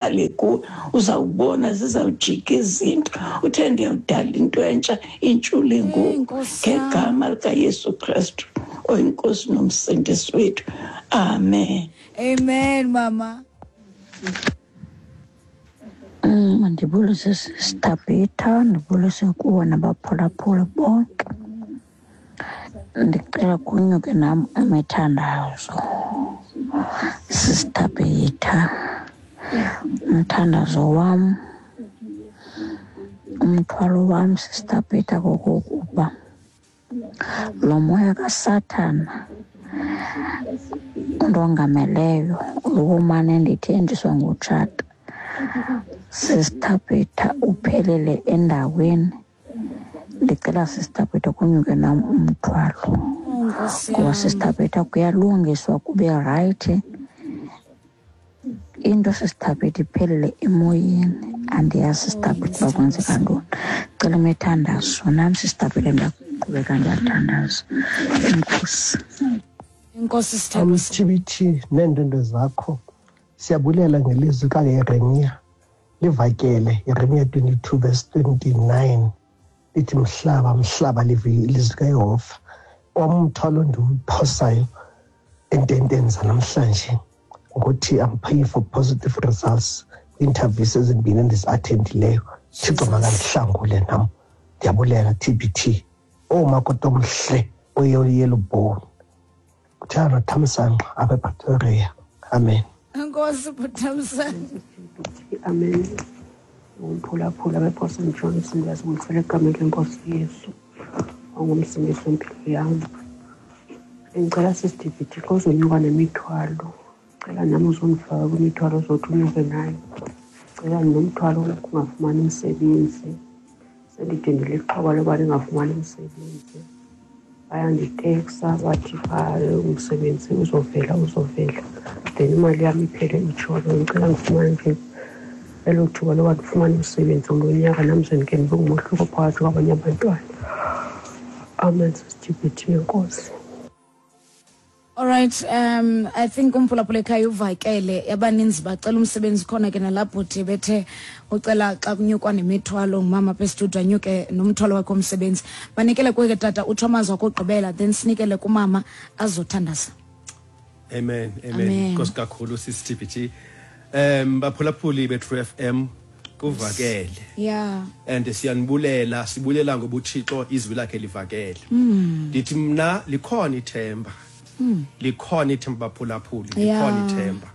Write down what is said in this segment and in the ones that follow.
Ale kuwe uzawubona zizawujika izinto. Uthe ndiyawudala into entsha intshule ngoku ngegama likaYesu Kristu oyiNkosi nomsindisi wethu. Amen. Amen mama. Mandibulise Sister ndibulise kuwe nabaphulaphuli bonke. Ndicela kunyuke nam imithandazo. Sister Peter, umthandazo wam, umthwalo wam, Sister Peter, kokokuba lo moya kaSathana undongameleyo lokumane ndithenjiswa ngutshata, Sister Peter, uphelele endaweni. Ndicela Sister Peter kunyuke nam umthwalo, ngoba Sister Peter kuyalungiswa kube rayithi. Into Sister Peter iphelele emoyeni, andiyazi Sister Peter uba kwenzeka ntoni. Cela imithandazo nam Sister Peter, ndiyaqhubeka ndiyathandaza. Enkosi. Enkosi sithandwa. TBT neendwendwe zakho, siyabulela ngelizwi kaYeremiya. Livakele Yeremiya 22 verse 29 lithi mhlaba mhlaba live ilizwi kaYehova. Umthwalo ndiwuphosayo ententeni zanamhlanje ngothi I'm praying for positive results interviews ezimbini endizi-attendileyo. Thixo makandihlangule nam. Ndiyabulela TBT. Oomakoti omhle oyeyellow bone. Kuthiwa noThamsanqa apha ePretoria. Amen. Enkosi bhuThamsanqa. Amen. Umphulaphula bePort St John's, ndiyazibulisela egameni lenkosi Yesu ongumsindisi wempilo yam. Bendicela sisiDVT xa uzonyuka nemithwalo, cela nam uzondifaka kwimithwalo ozothi unyuke nayo. Cela nomthwalo wokungafumani umsebenzi, sendide ndilixhoba loba ndingafumani umsebenzi. Bayanditeksa bathi phaa umsebenzi uzovela, uzovela, then imali yam iphele itshona. Ndicela ndifumane nje elo thuba loba ndifumane umsebenzi ngulo nyaka, nam ze ndike ndibe ngumohluko phakathi kwabanye abantwana. Amen, sisiDVT, enkosi. All right, I think umphulaphula ekhaya uvakele, abaninzi bacela umsebenzi khona ke nalapho bhuti bethe ucela xa kunyukwa nemithwalo ngumama apha estudio anyuke nomthwalo wakhe womsebenzi. Banikele kuye ke tata utsho amazwi akugqibela, then sinikele kumama azothandaza. Amen, amen. Nkosi kakhulu sisi TBT. Baphulaphuli be-True FM kuvakele. And siyanibulela, sibulela ngoba uThixo izwi lakhe livakele. Ndithi mna likhona ithemba. Likhona ithemba baphulaphuli, likhona ithemba.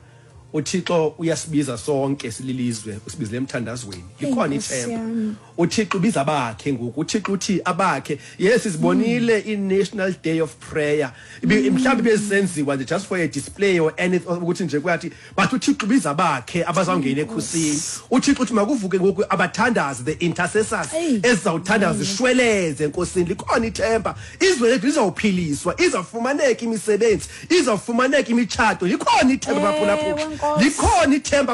uThixo uyasibiza sonke sililizwe, usibizile emthandazweni. Likhona ithemba. uThixo ubiza abakhe ngoku. uThixo uthi abakhe. Yes, sibonile i-National Day of Prayer. Mhlawumbi bezisenziwa nje just for a display or anything ukuthi nje kuyathi, but uThixo ubiza abakhe abazawungena ekhusini. uThixo uthi makuvuke ngoku abathandazi, the intercessors ezizawuthandaza zishweleze enkosini. Likhona ithemba. Izwe lethu lizawuphiliswa, izawufumaneka imisebenzi, izawufumaneka imitshato. Likhona ithemba baphulaphula. Likhona ithemba,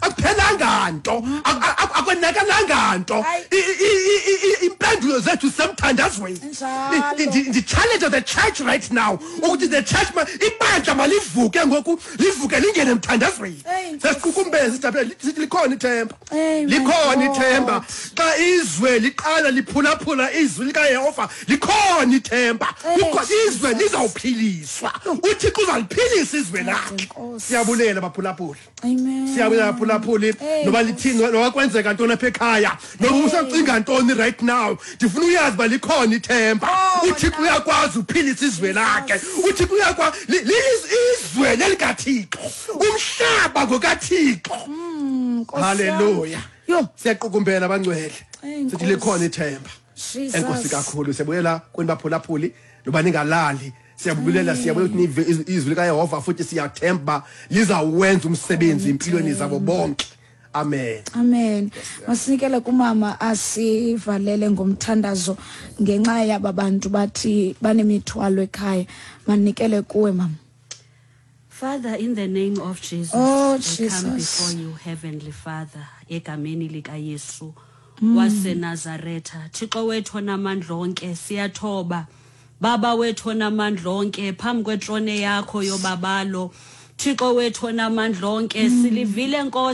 akuphelanga nto, akwenakalanga nto. Impendulo zethu zisemthandazweni. Ndi-challenge the church right now ukuthi the church ibandla malivuke ngoku, livuke lingene emthandazweni. Sesiqukumbeze sijabulela, sithi likhona ithemba. Likhona ithemba. Xa izwe liqala liphulaphula izwi likaYehova, likhona ithemba. Kukho izwe lizawuphiliswa. uThixo uzaliphilisa izwe lakhe. Siyabulela baphulaphuli. Siyabulela baphulaphuli. Noba lithini, noba kwenzeka ntoni apha ekhaya, noba usacinga ntoni right now, ndifuna uyazi uba likhona ithemba. uThixo uyakwazi uphilisa izwe lakhe. uThixo uyakwazi izwe lelikaThixo. Umhlaba ngokaThixo. Hallelujah. Siyaqukumbela abangcwele. Sithi likhona ithemba. Enkosi kakhulu. Siyabuyela kuni baphulaphuli, noba ningalali. Siyabulela, siyabulela ukuthi nive izwi likaYehova futhi siyathemba lizawwenza umsebenzi empilweni zabo bonke. Amen. Amen. Masinikele kumama asivalele ngomthandazo ngenxa yaba bantu bathi banemithwalo ekhaya. Manikele kuwe mama. Father, in the name of Jesus, Oh, we come Jesus. before you, Heavenly Father, egameni likaYesu waseNazaretha. Thixo wethu onamandla onke, siyathoba. Baba wethu onamandla onke, phambi kwetrone yakho yobabalo. Thixo wethu onamandla onke, silivile Nkosi.